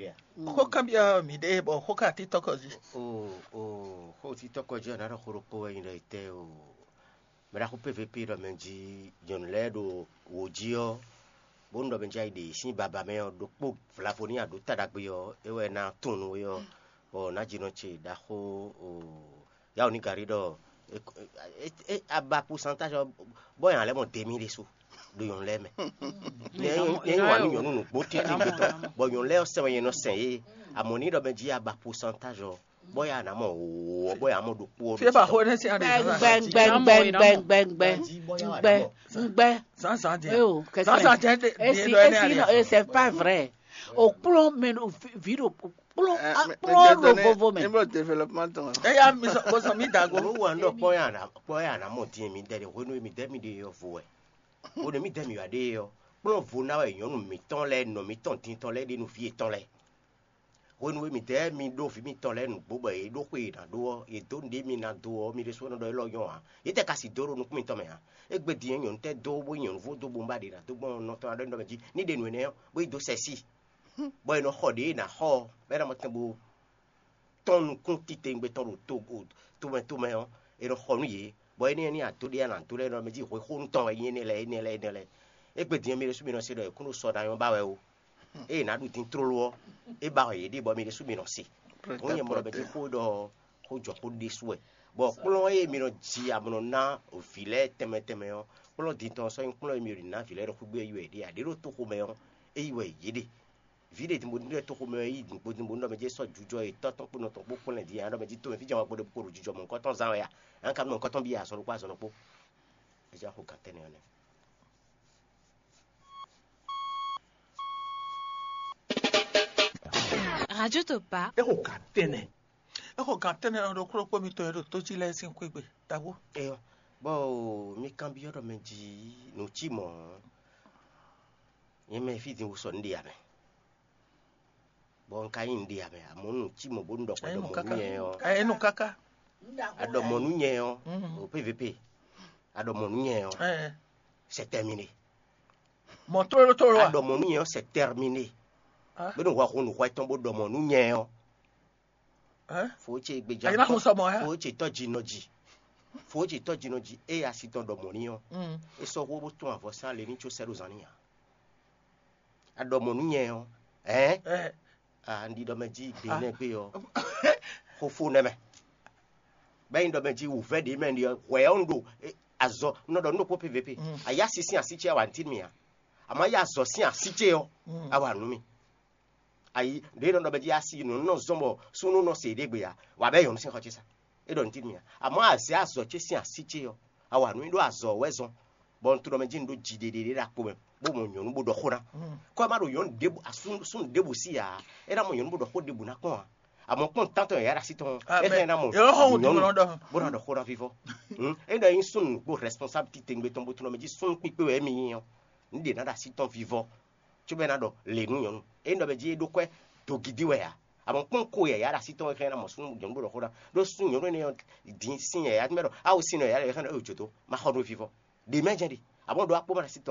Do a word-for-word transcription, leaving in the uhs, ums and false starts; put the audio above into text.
ɖe a? Xó kanbyɔ́ mǐ ɖe bɔ xó ka títɔ́ kɔ jí. O o xó títɔ́ kɔ jí ɔ́, nǎ ɖɔ xó ɖokpó wɛ nyí ɖɔ etɛ́ o. Mɛ ɖaxó P V P ɖɔ mɛ jí nyɔ̌nu lɛ́ɛ ɖo wǒ jí ɔ́, bónú ɖɔ mɛ jí ayi ɖe sín baba mɛ ɔ́, ɖokpó vlavo ní aɖǒ ta ɖagbe ɔ́, é wɛ ná tunwun nú we ɔ́, bɔ nǎjínɔ ce ɖaxó o yawó ní gari ɖɔ é- é- é- aba pusantáž ɔ́, bɔ yǎ lɛ́ mɔ demi ɖésú ɖo nyɔ̌nu lɛ́ɛ mɛ. Nyɛ nyɛ nyɛ wǎ nú nyɔ̌nu nǔgbó títí gbɛtɔ́, bɔ nyɔ̌nu lɛ́ɛ ɔ́ sɛn wɛ nyɛ nɔ sɛn yě. Amɔ̌ ní ɖɔ mɛ jí aba pusantáž ɔ́, bɔ yǎ ná mɔ wǒ ɔ́, bɔ yǎ mɔ ɖokpó ɔ́. Fi e ba xó énɛ́ sín aɖe Gbɛ, gbɛ, gbɛ, gbɛ, gbɛ, gbɛ, gbɛ, gbɛ, gbɛ. Zǎnzǎn din. Eh oh, qu'est-ce Zǎnzǎn que- jẹ́ dé- Et dé si, lɔ et énɛ́ si, non, aɖe. Et c'est pas vrai. Au plan, mais au vi- vide au plan, Eh, ah, mais- plan mais le Désolé, vovo, mais. Níbo développement tɔn. Eya mi sɔ bó sɔ mi da go. Owó wa ń ɖɔ kpɔ́ yà ná kpɔ́ yà ná mɔ dín mi dɛ ɖe hwenu mi dɛ mi ɖe yɔ vo wɛ. Hwenu mi dɛ mi wà ɖe yɔ. Kplɔ́n vo ná wɛ nyɔ̌nu mǐtɔn lɛ́ɛ nɔ mǐtɔn dintɔn lɛ́ɛ ɖe nú vǐ yětɔn lɛ́ɛ. Hwenu e mǐdɛɛ mi ɖó vǐ mitɔn lɛ́ɛ nǔgbó bɔ yě ɖó xwe e è nǎ ɖó ɔ́, yě dó nǔɖé mi ná dó ɔ́, mi ɖésú nɔ ɖɔ élɔ́ nyɔ́ ǎ. Yě tɛ ka si dó ɖo nukún mitɔn mɛ ǎ. Égbé din ɔ́, nyɔ̌nu tɛ́ dó bó nyí nyɔ̌nu vo dó bo ba ɖě ná dó gbɔn nɔ tɔn aɖɔ́ nyi ɖɔ mɛ jí ní ɖe nǔ énɛ́ ɔ́, bó yi dó sɛ sí, bɔ è nɔ xɔ ɖě è nǎ xɔ ɔ́, bɔ é ná mɔ tɛn bo tɔ́n nukún titewungbe tɔn ɖo to tomɛ tomɛ ɔ́, è nɔ xɔ nú yě, bɔ énɛ́ ɔ́ ní adó ɖé a nǎ dó lɛ́ɛ nɔ mɛ jí hwexónu tɔn wɛ nyí énɛ́ lɛ́ɛ énɛ́ lɛ́ɛ énɛ́ lɛ́ɛ. Égbé din ɔ́, mi ɖésú mi nɔ se ɖɔ è kún ɖo sɔ ná nyɔ́ ba wɛ ó. Ée è nǎ ɖu din tlóló ɔ́, é ba wɛ yě ɖe bɔ mi ɖésú mi nɔ se. Hǔn nyɛ mɔ ɖɔ mɛ jí xó ɖɔ xó jɔ xó ɖésú wɛ. Bɔ kplɔ́n e mi nɔ ji amlɔ ná vǐ lɛ́ɛ tɛnmɛ tɛnmɛ ɔ́, kplɔ́n din tɔn sɔ́ nyí kplɔ́n e mi ɖo ná vǐ lɛ́ɛ ɖo xwígbé yi wɛ yě ɖe. Aɖě ɖo toxo mɛ ɔ́, é yi wɛ yě ɖe. Vǐ ɖě din bo ɖɔ toxo mɛ yi din bo din bo ɖɔ mɛ jí sɔ́ jujɔ yětɔn tɔn kpó nɔ tɔn kpó kplɔ́n din, ɖɔ mɛ jí tomɛ fí jɛ́n wá gbɔdɔ kpo ɖo jujɔ mɔ̌hunkɔtɔn zán wɛ a? An ka nɔ nukɔntɔn byɔ́ azɔn ɖokpó azɔn ɖokpó. É jɛ xo gǎn tɛnɛ ɔ́ nɛ́. Radio Topa. É xo gǎn tɛnɛ. É xo gǎn tɛnɛ ɔ́ ɖokpó ɖokpó mitɔn e ɖo tó jí lɛ́ɛ sín xwé gbe. Dǎbú. Eyɔ, bɔ mi kanbyɔ́ ɖɔ mɛ jí nǔ cí mɔ̌. Nyɛ mɛ fí din wú sɔ nǔ ɖe amɛ. Bɔ un ka nyí nǔ ɖe amɛ, amɔ̌ nǔ cí mɔ̌ bónú ɖɔ xɔ ɖɔ mɔ̌ nú nyɛ ɔ́. Enu kaka. Aɖɔ mɔ̌ nú nyɛ ɔ́, o P V P. Aɖɔ mɔ̌ nú nyɛ ɔ́, c'est terminé. Mɔ tlóló tlóló a? Aɖɔ mɔ̌ nú nyɛ ɔ́, c'est terminé. Bónú hwɛ xo nǔ xɔ tɔn bó ɖɔ mɔ̌ nú nyɛ ɔ́. Fo ce gbeja. Ayina xo sɔmɔ ya. Fo ce tɔ́ jinɔ ji. Fo ce tɔ́ jinɔ ji eye asi tɔn ɖɔ mɔ̌ ní ɔ́. É sɔ́ xó bó tún avɔ sán le ní có sɛ́ ɖo zan ní ǎ. Aɖɔ mɔ̌ nú nyɛ ɔ́, ɛ̌? Ɛ, Ah, un ɖi ɖɔ mɛ jí gbe nɛ́ gbé ɔ́, xó fó nɛ́ mɛ. Bɛ́ nyi ɖɔ mɛ jí wǔvɛ́ ɖě mɛ ɖi ɔ́, hwɛ ɔ́ un ɖo eh, azɔ un nɔ ɖɔ nú ɖokpó P V P. Ayá sín así ce wá ntín mì ǎ. Àmọ́ yá azɔ sín así ce ɔ́, a wà nú mì. Ayi ɖě nɔ ɖɔ mɛ jí asi nɔ nɔ zɔn bɔ súnú nɔ se ɖé gbe ǎ, wà bɛ́ nyɔ̌nu sín xɔ ce sa. É ɖɔ nǔ tín mì ǎ. Àmọ́ azě azɔ̌ ce sín así ce ɔ́, a wa nǔ nyi ɖó azɔ̌ wɛ zɔn, bɔ un tunɔ mɛ jí un ɖó jiɖiɖe ɖo akpo mɛ, bó mɔ nyɔ̌nu bó ɖɔ xó ná. Kɔ́ ɛ má ɖo nyɔ̌nu ɖěbǔ súnnu ɖěbǔ sí ǎ, é ná mɔ nyɔ̌nu bó ɖɔ xó ɖěbǔ ná kpɔ́n ǎ. Àmọ́ kpɔ́n tántɔn yǎyá ɖo así tɔn, é hɛn ná mɔ nyɔ̌nu bó ná ɖɔ xó ná vívɔ́. É ɖɔ nyí súnnu nǔgbó responsable titewungbe tɔn bó tunɔ mɛ jí súnnu kpíkpé wɛ émí nyí ɔ́, nǔ ɖě ná ɖo así tɔn vívɔ́. Cóbɔ é ná ɖɔ lě nú nyɔ̌nu. Ényí ɖɔ mɛ jí é ɖó kwɛ́ dogidi wɛ ǎ. Amɔ kpɔ́n ko yǎyá ɖo así tɔn wɛ xlɛ́ ná mɔ súnnu nyɔ̌nu bó ɖɔ xó ná. Ɖó súnnu nyɔ̌nu énɛ́ ɔ́ din sín yǎyá mɛ ɖɔ awu sín nɔ yǎyá ɖɔ xlɛ́ ná ɖo jǒtó. Ma xɔ nú vivɔ. Ɖě mɛ jɛ́n ɖe. Amɔ ɖó akpó ma ɖo así